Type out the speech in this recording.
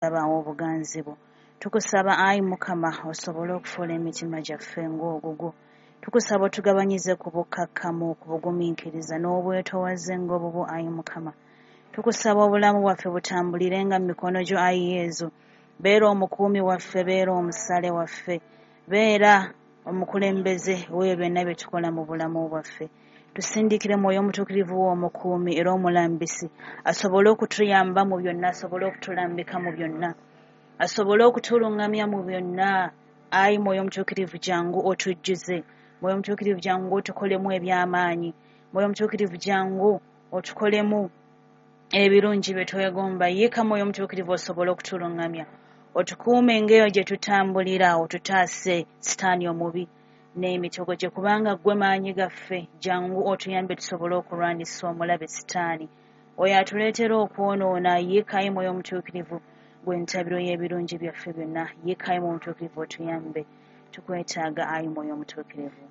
Okulaba obuganzi bwo. Tukusaba, ayi Mukama, osobole okufuula emitima gyaffe ng'ogugwo. Tukusaba otugabanyize ku bukkakkamu, ku bugumiikiriza n'obwetowaze ng'obubwo, ayi Mukama. Tukusaba obulamu bwaffe butambulirenga mu mikono gyo, ayi Yezu. Beera omukuumi waffe, beera omusale waffe, beera omukulembeze w'ebyo byonna bye tukola mu bulamu bwaffe. Tusindikire Mwoyo Omutuukirivu wo omukuumi era omulambisi, asobole okutuyamba mu byonna, asobole okutulambika mu byonna, asobole okutuluŋŋamya mu byonna. Ayi Mwoyo Omutuukirivu, jangu otujjuze. Mwoyo Omutuukirivu, jangu otukolemu eby'amaanyi. Mwoyo Omutuukirivu, jangu otukolemu ebirungi bye twegomba. Yiika, Mwoyo Omutuukirivu, osobole okutuluŋŋamya, otukuume ng'eyo gye tutambulira, otutaase sitaani omubi n'emitego gye, kubanga ggwe maanyi gaffe. Jangu otuyambe tusobole okulwanyisa omulabe sitaani oyo atuleetera okwonoona. Yiikayi, Mwoyo Omutuukirivu, gwe ntabiro y'ebirungi byaffe byonna. Yiikayi, Mwoyo Omutuukirivu, otuyambe. Tukwetaaga, ayi Mwoyo Omutuukirivu.